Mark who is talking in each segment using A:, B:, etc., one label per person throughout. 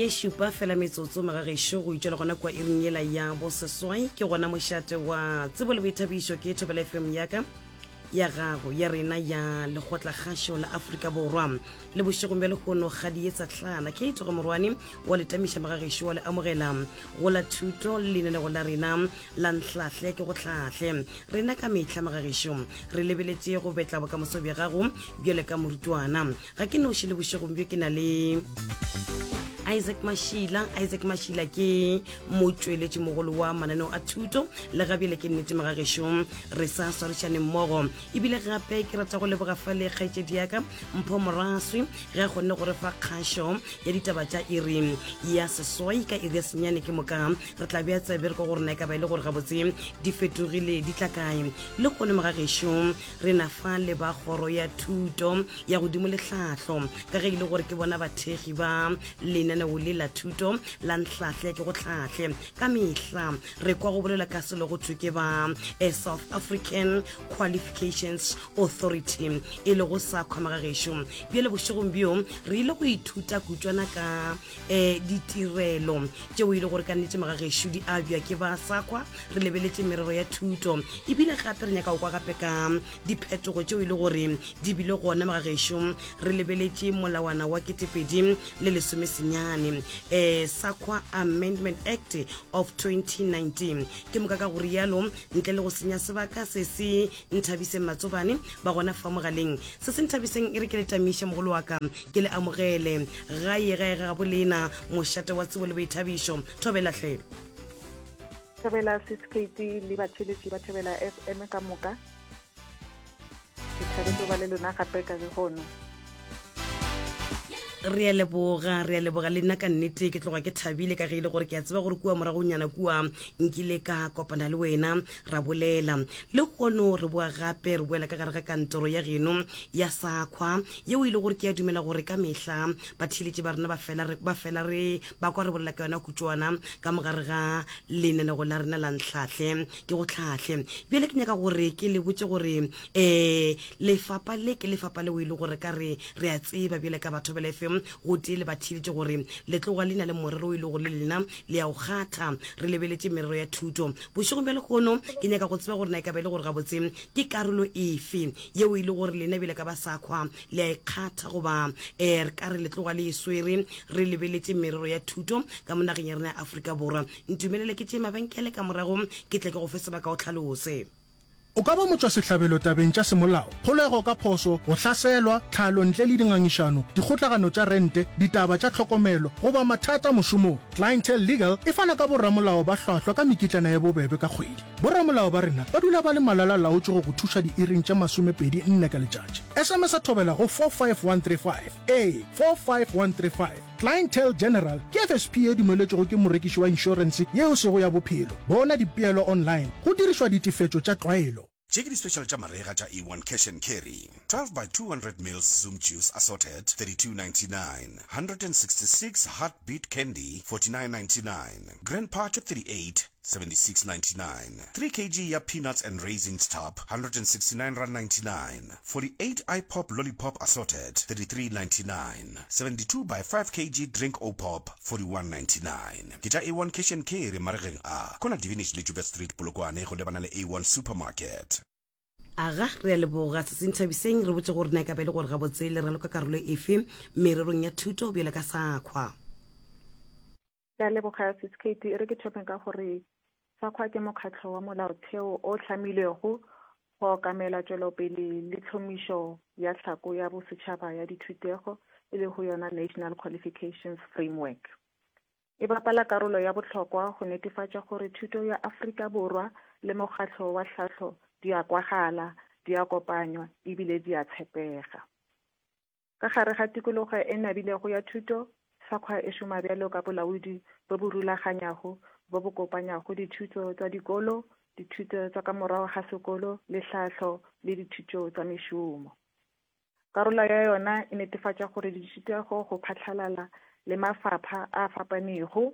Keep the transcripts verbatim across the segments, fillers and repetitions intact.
A: Ye šupa fela metsotso magagešo go itšwela gona kua iring yela ya boseswai, ke gona mošate wa tsebo le boithabišo ke Thobela F M yaka, ya gago, ya rena, ya Lekgotlakgašo la Afrika Borwa. Le bošegong bja lehono ga di etsa tlana ke tsogo morwane wa letamiša magagešo wa le amogela go la thuto le lenanego la rena la Nhlahle ke go Hlahle. Rena ka mehla magagešo re lebeletše go betla bokamoso bja gago bjale ka morutwana. Ga ke noši le bošegong bjo, ke na le Isaac Mashila. Isaac Mashila ke motšweletši mogolo wa mananeo a thuto le gabjele ke nnete magagešo re sa swarišane mmogo. Ebile gape ke rata go leboga fa le kgaetšedi yaka Mpho Moraswi ge a kgonne go re fa kgašo ya ditaba tša iri ya seswai ka iri ya senyane. Ke moka re tla bea tsebe re ka gore na e ka ba e le gore gabotse di fetogile di tla kae. Le kgone magagešo re na fa le ba kgoro ya thuto ya godimo le tlhahlo, ka ge e le gore ke bona bathekgi ba lenaneo le la thuto la Nhlahle ke go Tlhahle. Ka mehla re kwa go bolela ka selo go thwe ke ba eh, South African Qualifications Authority, e lego SAQA magagešo. Bjale bošegong bjo re ile go ithuta kutšwana ka um ditirelo tšeo e le gore ka nnete magagešo di abja ke ba SAQA, re lebeletše merero ya thuto. Ebile gape re nyaka go kwa gape ka diphetogo tšeo e le gore di bile gona magagešo, re lebeletše molawana wa ketepedi le lesomesenyane, um SAQA Amendment Act of twenty nineteen. Ke moka ka go rialo, ntle le go senya sebaka, se se nthabiseng matsobane ba gona fa mogaleng. Se se nthabiseng e re ke le tamiše mogolo wa ka, ke le amogele gae gae ga bolena mošate wa tsebo le boithabišo. Thobelatlhe.
B: Thobela Sis K T le batheletši ba Thobela F M ka moka. Ke thabetse go ba le lona gape ka lehono.
A: Re a leboga, re a leboga. Le nna ka nnete ke tloga ke thabile ka ge e le gore ke a tseba gore kua moragonyana kua nkile ka kopana le wena ra bolela. Le kgono re boa gape re boela ka gare ga kantoro ya geno ya SAQA, yeo e le gore ke a dumela gore ka mehla batheeletši ba rena ba fela re- ba fela re ba kwa re bolela ka yona kutšwana ka mogare ga lenanego la rena la Ntlhahle ke go Tlhahle. Bjale ke nyaka gore ke le botse gore um lefapa le ke lefapa leo e le gore ka re re a tseba bjale ka batho bela F M go tee le batheeletši gore le tloga le na le morero o e le gore le lena le ya go kgatha, re lebeletše merero ya thuto. Bošegong bja lehono ke nyaka go tseba gore na e ka ba e le gore gabotse ke karolo efe yeo e le gore lena bjale ka ba SAQA le a ikgatha, goba um re ka re le tloga le e swere, re lebeletše merero ya thuto ka mo nageng ya rena ya Afrika Borwa. Ntumelele ke tšee mabenkele, ka morago ke tle ke go fe sebaka o tlhalose.
C: O ka ba motšwasehlabelo tabeng tša semolao, kgolego ka phoso, go hlaselwa, tlhalo ntle le dingangišano, dikgotlagano tša rente, ditaba tša tlhokomelo goba mathata mošomong. Clientele Legal e fana ka boramolao ba hlwahlwa ka mekitlana ya bobebe ka kgwedi. Boramolao ba rena ba dula ba le malala laotše go go thuša diiring tše masomepedi nne ka letšatši. S M S a Thobela go four five one three five, ee, four five one three five. Clientele General ke F S P e dumeletšwego ke morekiši wa inšorense yeo sego ya bophelo. Bona dipeelo online go dirišwa ditefetšo tša tlwaelo.
D: Tše ke di-special tša marega tša A one Cash and Carry: twelve by two hundred mils Zoom juice assorted, thirty-two ninety-nine; one hundred sixty-six Heartbeat candy, forty-nine ninety-nine; Grandpa tše thirty-eight, seventy-six ninety-nine; three kilograms ya peanuts and raisins tub, one hundred sixty-nine rand ninety-nine; forty-eight iPop lollipop assorted, thirty-three ninety-nine; seventy-two by five kilograms drink o pop, forty-one ninety-nine. Ke tša A one Cash and Carry maregeng a kona Divinage le Joubert Street, Polokwane, go lebana le A one Supermarket.
A: Aga, re a leboga. Se senthabiseng re botse gore na e ka ba e le gore gabotse le raloka karolo efe mererong ya thuto bjale ka SAQA.
B: Ke a leboga Sis K T. E re ke thome ka gore SAQA ke mokgatlho wa molaotheo o hlamilwego go okamela tšwelopele le tlhomišo ya tlhako ya bosetšhaba ya dithutego, e lego yona National Qualifications Framework. E bapala karolo ya bohlokwa go netefatša gore thuto ya Afrika Borwa le mokgatlo wa tlhahlo di a kwagala, di a kopanywa ebile di a tshepega. Ka gare ga tikologo e nabilego ya thuto, SAQA e šoma bjalo ka bolaodi bo bo rulaganyago bo bo kopanyago dithuto tša dikolo, dithuto tša ka morago ga sekolo le tlhahlo le dithuto tša mešomo. Karolo ya yona e netefatša gore dithutego go phatlalala le mafapha a fapanego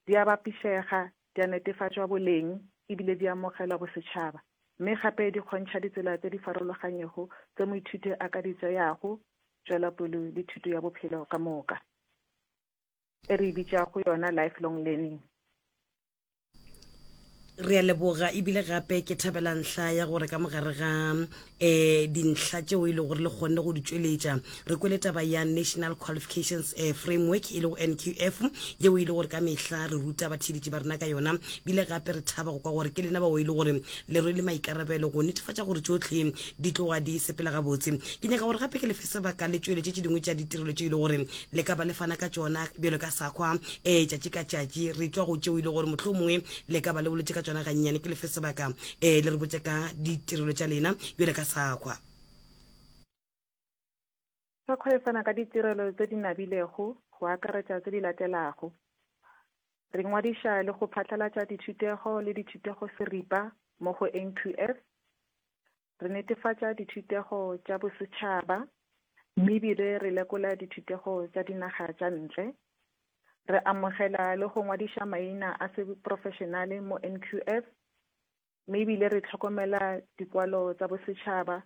B: di a bapišega, di a netefatšwa boleng ebile di amogelwa bosetšhaba, mme gape di kgontšha ditsela tse di farologanego tse moithuti a ka di tšeago tšwelopele le thuto ya bophelo ka moka. e re e bitšago yona lifelong learning.
A: Re a leboga ebile gape ke thabela ntlha ya gore ka mogare ga um dintlha tšeo e lego gore le kgonne go di tšweletša re kwele taba ya National Qualifications eh, Framework e lego N Q F yeo e le gore ka mehla re ruta batheeletši ba rena ka yona bile gape re thaba go kwa gore ke lena bao e le gore le rwele maikarabelo go netefatša gore tšohle di tloga di sepela gabotse. Ke nyaka gore gape ke lefe sebaka le tšweletše tše dingwe tša ditirelo tše e le gore le ka ba le fana ka tšona bjalo ka SAQA um tšatši ka tšatši re tšwa go tšeo e le gore mohlomongwe le ka ba le boletše ka tšona gannyane. Ke lefe sebaka um le re botše ka ditirelo tša lena bjalo ka SAQA.
B: SAQA e fana ka ditirelo tse di nabilego go akaretša tse di latelago. Re ngwadiša le go phatlalatša dithutego le dithutego seripa mo go N Q F. Re netefatša dithutego tša bosetšhaba mme ebile re lekola dithutego tša dinaga tša ntle. Re amogela le go ngwadiša maina a seprofešenale mo N Q F, mme ebile re tlhokomela dikwalo tsa bosetšhaba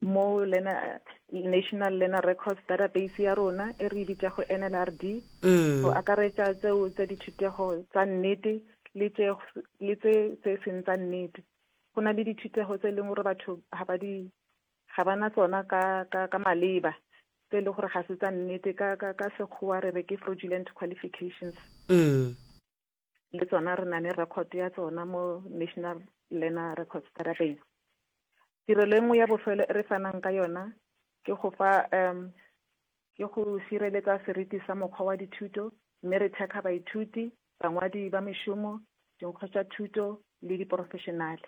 B: mo Learner, National Learner Records Database ya rona e re e bitšago N L R D, go akaretša tseo tsa dithutego tsa nnete le tse le tse tse seng tsa nnete. Go na le dithutego tse e leng gore batho ga ba di ga ba na tsona ka, ka, ka maleba, tse e leng gore ga se tsa nnete, ka, ka, ka sekgowa re re ke fraudulent qualifications.
A: Mm.
B: Le tsona re na le record ya tsona mo National Learner Records Database. Tirelo e nngwe ya bofelo e re fanang ka yona ke go fa, um, ke go sireletsa seriti sa mokgwa wa dithuto, mme re thekga baithuti, bangwadi ba mešomo, dinkgo tša thuto le diprofessionale.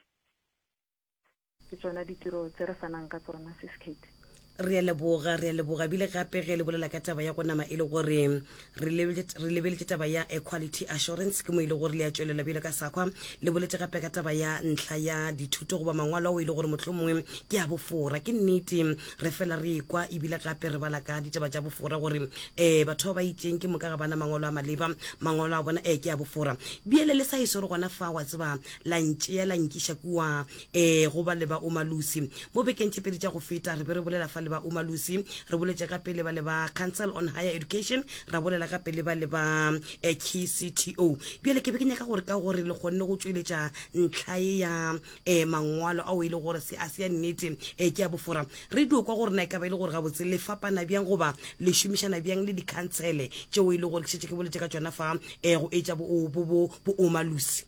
B: Ke tsona ditiro tse re fanang ka tsona, Sis Kate.
A: Re a leboga, re a leboga. Ebile gape ge le bolela ka taba ya go nama e le gore re lebeletše, re lebeletše taba ya equality assurance, ke mo e le gore le a tšwelela bjalo ka SAQA. Le boletše gape ka taba ya ntlha ya dithuto goba mangwalo ao e le gore mohlomongwe ke a bofora. Ke nnete re fela re ekwa ebile gape re bala ka ditaba tša bofora gore um batho ba ba itšeng ke moka ga bana mangwalo a maleba, mangwalo a bona um ke a bofora. Bjale le sa e swere gona fa wa tseba la ntšea la nkiša kua um go ba le ba Umalusi. Mo bekeng tše pedi tša go feta re be re bolela fa le ba Umalusi, re boletše gape le ba le ba Council on Higher Education, ra bolela gape le ba le ba K C T O. Bjale ke be ke nyaka gore ka gore le kgonne go tšweletša ntlha e ya eh, mangwalo ao e le gore se a se ya nnete eh, ke a bofora. Re dio kwa gore na e ka ba e le gore gabotse le fapana bjang goba le šomišana bjang le dikhansele tšeo e le gore ke šetše ke boletše ka tšona fa eh, go etša bo, bo, bo, bo Umalusi.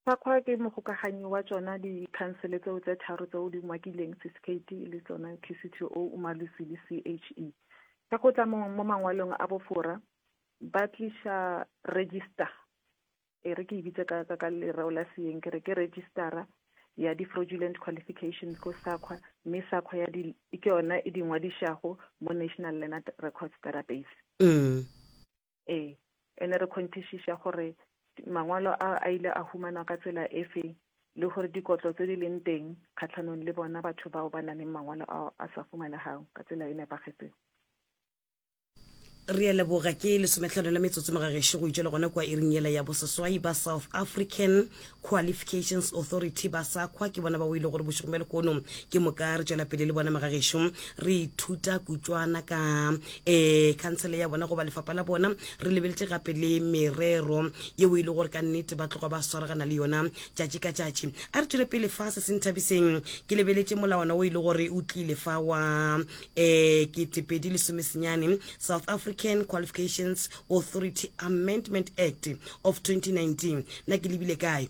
B: SAQA ke mogokaganyi wa tšona dikhansele tseo tse tharo tseo di umakileng, Sis Kate le tsona K C T O, Umalusi le C H E. Ka go tla mo, mo mangwalong a bofora ba tliša register, e re ke e bitse ka, ka, ka lereo la seeng, ke re ke registera ya di-fraudulent qualifications ko SAQA, mme SAQA ya di, ke yona e di ngwadišago mo National Learner Records Database.
A: Mm.
B: Ee, ene re kgonthišiša gore mangwalo a a ile a humanwa ka tsela efe le gore dikotlo tse di leng teng kgatlhanong le bona batho bao ba nang le mangwalo ao a sa fumanegang ka tsela e nepagetseng.
A: Re a leboga. Ke lesometlhano la metsotso mogagešo go itšwela gona kua iring yela ya boseswai. Ba South African Qualifications Authority ba SAQA ke bona ba o ile gore bošegong bja lehono ke moka re tšwela pele le bona magagešo re ithuta kutšwana ka um khansele ya bona goba lefapha la bona. Re lebeletše gape le merero yeo e le gore ka nnete ba tloga ba swaragana le yona tšatši ka tšatši. A re tšwele pele fa se se nthabiseng, ke lebeletše molawana o e le gore o tlile fa wa um ketepedi lesomesenyane South African Qualifications Authority Amendment Act of twenty nineteen. Na ke lebile kae?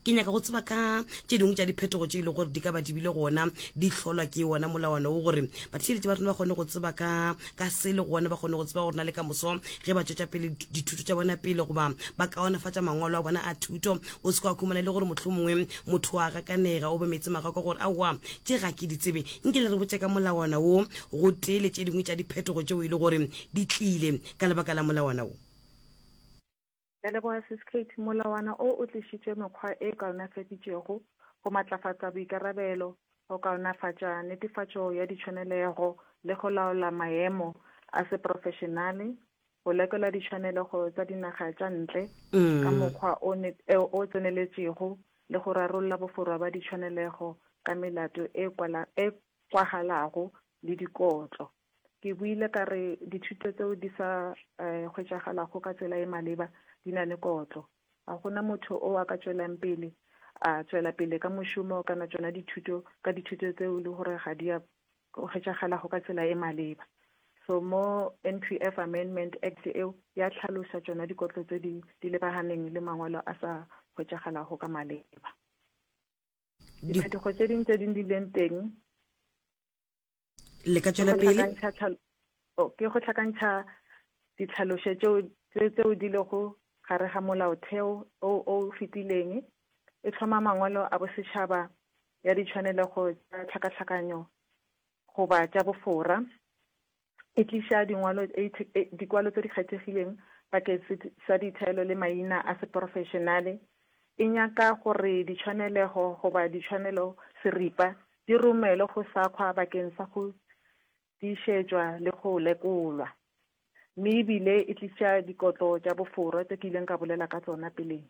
A: Ke nyaka go tseba ka tše dingwe tša diphetogo tše e lego gore di ka ba di bile gona di hlolwa ke wona molawana wo, gore batheeletši ba rena ba kgone go tseba ka, ka se le gona ba kgone go tseba gore na le ka moso ge ba tšwetša pele dithuto tša bona pele goba ba kaonafatša mangwalo a bona a thuto, o se kwa khumana le gore mohlomongwe motho a gakanega o be meetse magakwa gore aowa tše ga ke di tsebe. Nke le re botše ka molawana wo go tee le tše dingwe tša diphetogo tšeo e le gore di tlile ka lebaka la molawana wo.
B: Ke a leboga, Sis Kate. Molawana o o tlišitše mekgwa e kaonafaditšego go matlafatša boikarabelo, go kaonafatša netefatšo ya ditshwanelego le go laola maemo a seprofešenale, go lekola ditshwanelego tša dinaga tša ntle ka mokgwa o ne-, o tseneletšego le go rarolla boforwa ba ditshwanelego ka melato e kwala, e kwagalago le dikotlo. Ke buile ka re dithuto tseo di sa eh, hwetšagalago ka tsela e maleba di na le kotlo. Ga gona motho o a ka tšwelang pele a tšwela pele ka mošomo kana tšona dithuto ka dithuto tseo e le gore ga di a hwetšagalago ka tsela e maleba. So mo N Q F Amendment Act eo ya tlhalosa tšona dikotlo tse di di lebaganeng le mangwalo a sa hwetšagalago ka maleba. Diphetogo tše ding tse ding di leng teng
A: Le ka
B: ke
A: tšwela
B: go
A: pele.
B: hlakantšha tlhal- oh, ke go hlakantšha ditlhalošo tšeo tse- tseo di lego gare ga molaotheo o o fetileng. E hloma mangwalo a bosetšhaba ya ditshwanelego tša tlhakatlhakanyo goba tša bofora. E tliša dingwalo e the- e- dikwalo tse di kgethegileng bakeng se- sa ditaelo le maina a seprofešenale. E nyaka gore ditshwanelego goba ditshwanelo seripa di romelwe go SAQA bakeng sa go tiišetšwa le go lekolwa. Mme ebile e tliša dikotlo tša bofora tse ke ileng ka bolela ka tsona peleng.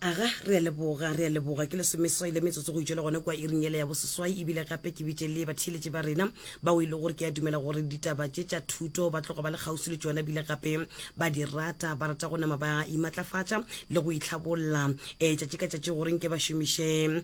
A: Aga, re a leboga, re a leboga. Ke lesomeseswai le metsotso go itšwela gona kua iring yela ya boseswai. Ebile gape ke bitše le batheeletši ba rena bao e le gore ke a dumela gore ditaba tše tša thuto ba tloga ba le kgauswi le tšona, ebile gape ba di rata, ba rata go nama ba imatlafatša le go itlhabolla um tšatši ka tšatši gore nke ba šomiše um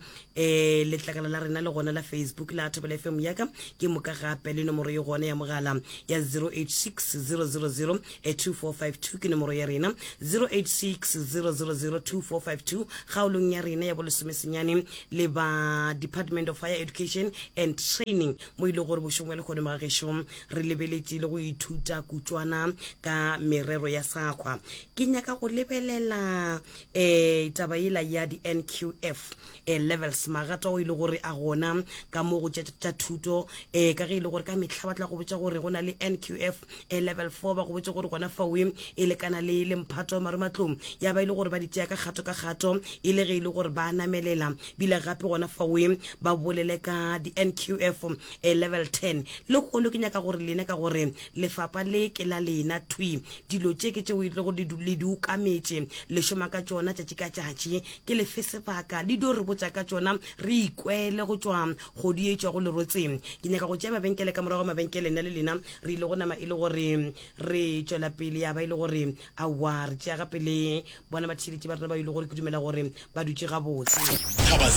A: letlakala la rena le gona la Facebook la Thobela F M yaka, ke moka gape le nomoro ye gona ya mogala ya zero eight six zero zero zero two four five two, ke nomoro ya rena zero eight six zero zero zero two four five two. Kgaolong ya rena ya bolesomesenyane le ba Department of Higher Education and Training, mo e le gore bošong bja lekgono mogagešo re lebeletše le go ithuta kutšwana ka merero ya SAQA. Ke nyaka go lebelela um taba yela ya di-N Q F um levels, magato ao e le gore a gona ka mo go tša thuto, um ka ge e le gore ka mehla ba tla go botša gore go na le N Q F um level four, ba go botse gore gona faoe e lekana le le mphato wa marematlong, ya ba e le gore ba di tšea ka kgato ka kgato e le ge e le gore ba namelela, bile gape gona faoe ba bolele ka di-N Q F um level ten. Le kgono ke nyaka gore lena, ka gore lefapa le ke la lena thwi, dilo tše ke tšeo e le gore le di ukametše, le šoma ka tšona tšatši ka tšatši, ke lefe sebaka le dio re botša ka tšona, re ikwele go tšwa kgodi e tšwago lerotseng. Ke nyaka go tšea mabenkele, ka morago mabenkele nna le lena re ile go nama e le gore re tšwela pele, ya ba e le gore aowa re tšea gape le bona batheeletši ba rena ba ile gore ke dumela gore ba dutše gabotse.
D: Thaba.